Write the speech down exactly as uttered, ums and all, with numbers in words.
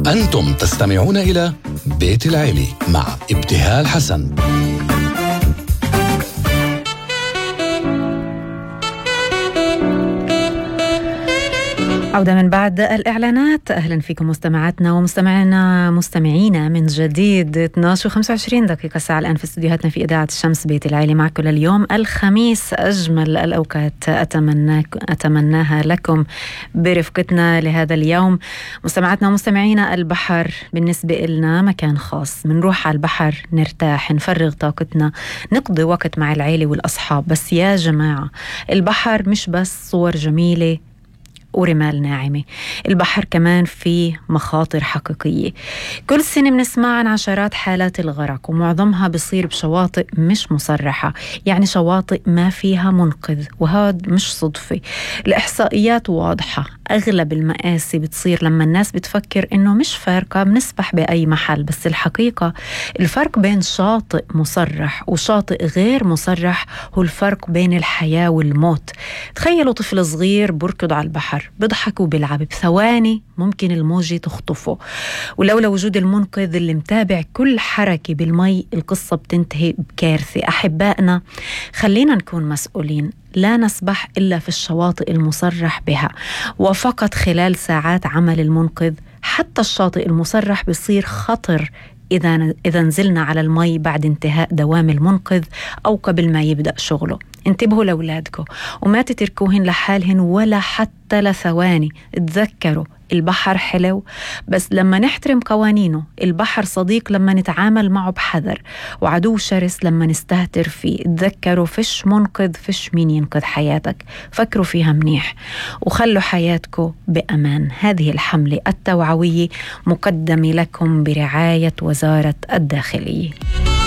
أنتم تستمعون إلى بيت العيلة مع ابتهال حسن. عودة من بعد الإعلانات. أهلا فيكم مستمعاتنا ومستمعينا مستمعينا من جديد. اثنعش وخمسة وعشرين دقيقة الساعة الآن في استديوهاتنا في إذاعة الشمس بيت العيلة معكم لليوم الخميس. أجمل الأوقات أتمنى أتمناها لكم برفقتنا لهذا اليوم. مستمعاتنا ومستمعينا، البحر بالنسبة لنا مكان خاص. منروح على البحر نرتاح، نفرغ طاقتنا، نقضي وقت مع العيلة والأصحاب. بس يا جماعة، البحر مش بس صور جميلة ورمال ناعمة، البحر كمان فيه مخاطر حقيقية. كل سنة بنسمع عن عشرات حالات الغرق، ومعظمها بصير بشواطئ مش مصرحة، يعني شواطئ ما فيها منقذ. وهذا مش صدفة، الإحصائيات واضحة. أغلب المآسي بتصير لما الناس بتفكر إنه مش فارقة، بنسبح بأي محل. بس الحقيقة الفرق بين شاطئ مصرح وشاطئ غير مصرح هو الفرق بين الحياة والموت. تخيلوا طفل صغير بركض على البحر، بضحك وبيلعب، بثواني ممكن الموجة تخطفه، ولولا وجود المنقذ اللي متابع كل حركة بالمي القصة بتنتهي بكارثة. أحبائنا، خلينا نكون مسؤولين، لا نسبح إلا في الشواطئ المصرح بها، وفقط خلال ساعات عمل المنقذ. حتى الشاطئ المصرح بيصير خطر إذا إذا نزلنا على المي بعد انتهاء دوام المنقذ أو قبل ما يبدأ شغله. انتبهوا لأولادكم وما تتركوهن لحالهن ولا حتى لثواني. تذكروا البحر حلو بس لما نحترم قوانينه، البحر صديق لما نتعامل معه بحذر، وعدو شرس لما نستهتر فيه. تذكروا فيش منقذ، فيش مين ينقذ حياتك. فكروا فيها منيح وخلوا حياتكم بأمان. هذه الحملة التوعوية مقدمة لكم برعاية وزارة الداخلية.